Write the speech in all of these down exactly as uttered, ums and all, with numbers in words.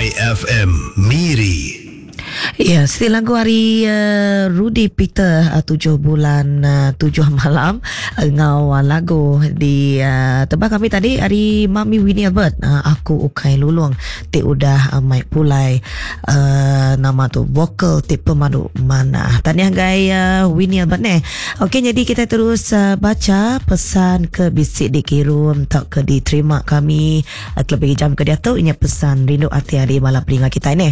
Y F M Miri. Ya, siti lagu hari uh, Rudy Peter uh, tujuh bulan uh, tujuh malam ngau uh, lagu di uh, tebak kami tadi hari Mami Winnie Albert, uh, Aku Ukai Lulung ti udah uh, mai pulai uh, nama tu vokal ti pemadu mana. Tahniah gai uh, Winnie Albert ne. Okey, jadi kita terus uh, baca pesan ke bisik dikirim tak ke diterima kami uh, lebih jam ke dia tu ini pesan rindu hati hari malam pelinga kita ni.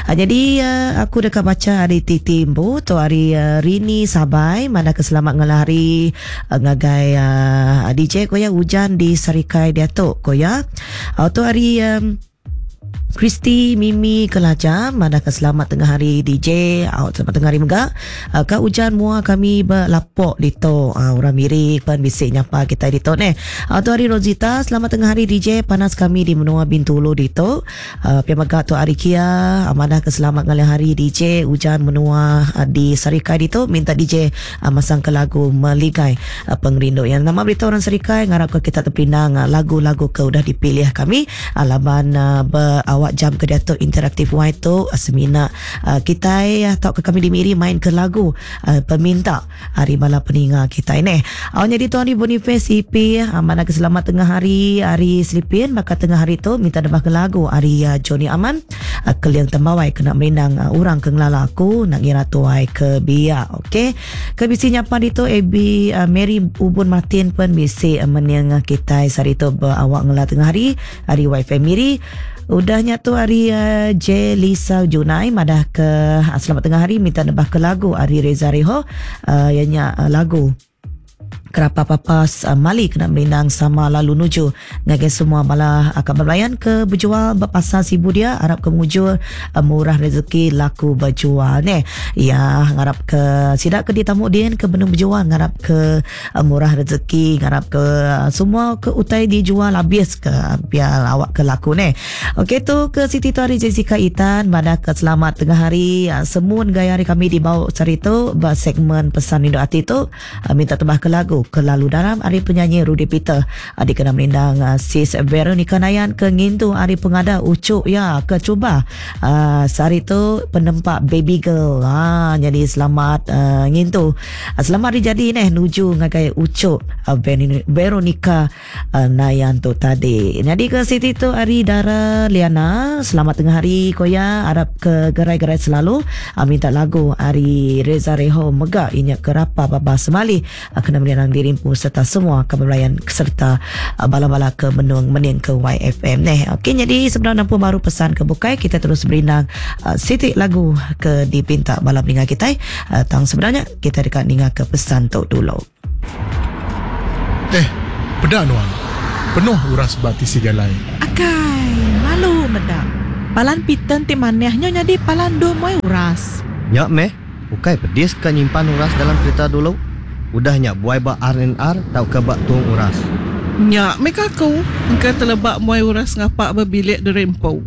Uh, jadi uh, aku dekat baca hari Titimbu tu hari uh, Rini Sabai mana keselamat ngelari uh, ngagai uh, D J koya, hujan di Sarikai dia tu koya. Uh, tu hari um, Kristi Mimi Kelaja mana ke selamat tengah hari D J, out selamat tengah hari mega uh, ka hujan mua kami berlapok dito, uh, orang miri pan bisik nyapa kita dito ne. Uh, tu hari Rosita, selamat tengah hari D J, panas kami di menua Bintulu dito. uh, pia mega tu hari Kia uh, mana ke selamat ngalih hari D J, hujan menua uh, di Sarikai dito, minta D J uh, masang ke lagu Meligai uh, Pengerindu yang nama berita orang Sarikai, ngarap ke kita terpinang uh, lagu-lagu ke udah dipilih kami uh, laban uh, berawak jam ke diatu interaktif Y tu uh, semina uh, kita atau ke kami di Miri main ke lagu uh, peminta hari malam peninga kita ini. Awak jadi tuan di Boniface E P uh, mana ke selamat tengah hari hari Selipin, maka tengah hari tu minta debah ke lagu hari uh, Johnny Aman uh, Keliang Tembawai kena merindang uh, orang ke ngelala aku nak ngira tuai ke biak. Okey. Ke bisi nyapa itu A B uh, Mary Ubun Martin pun bisi uh, meniang kita hari tu berawak ngela tengah hari hari Y F M Miri. Udahnya tu hari uh, J Lisa Junai madah ke uh, selamat tengah hari, minta nebah ke lagu hari Reza Reho uh, ianya uh, lagu Kerapa Papas uh, Mali kena merindang sama lalu nuju ngagai semua malah akan berlayan ke berjual berpasar Sibu dia, harap ke mujur uh, murah rezeki laku berjual ne ya. Ngarap ke sidak ke ditamu din ke benung berjual, ngarap ke uh, murah rezeki, ngarap ke uh, semua ke utai dijual habis ke biar awak ke laku ne. Okey, tu ke Siti tu hari Jessica Itan pada ke selamat tengah hari uh, semun gaya hari kami dibawa cerita ber segmen pesan rindu hati tu, uh, minta tebah ke lagu Kelalu Dalam hari penyanyi Rudy Peter, uh, dikena merindang uh, sis Veronica Nayan ke ngintu hari pengada ucuk ya ke cuba uh, sehari tu penempak baby girl. Ha, jadi selamat uh, ngintu uh, selamat hari jadi neh nuju ngagai ucuk uh, Veronica uh, Nayan tu tadi. Jadi ke Siti tu hari Dara Liana, selamat tengah hari koya, harap ke gerai-gerai selalu, uh, minta lagu hari Reza Reho mega inyak kerapa baba semali uh, kena merindang dirimpu serta semua kebelayan serta uh, bala-bala ke menung mening ke Y F M neh. Okey, jadi sebenarnya nampu baru pesan ke bukai, kita terus berindang uh, siti lagu ke dipinta bala peninga kita. Uh, tang sebenarnya kita dekat ninga ke pesan tu dulu. Eh, pedak nuan. Penuh uras bati si jalai. Akai, malu medak. Palan piten ti manehnya jadi palan do moy uras. Nyak meh, ukai pedis ka nyimpan uras dalam kereta dulu. Udahnya buai ba R and R tau ke bak tung uras. Nyak meh aku, engka telebak muai uras ngapak berbilik derempo.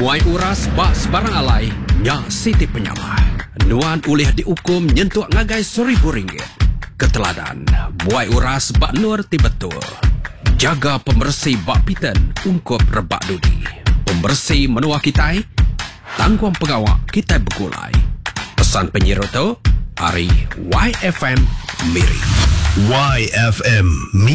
Muai uras bak sebarang alai, nyak siti penyalah. Nuan ulih dihukum nyentuk ngagai seribu ringgit. Keteladan, muai uras bak nur ti betul. Jaga pembersih bak piten ungkup rebak dudi. Pembersih menua kita, tangguang pengawak kita bergulai. Pesan penyiru tu, Ari Y F M Miri. Y F M Miri.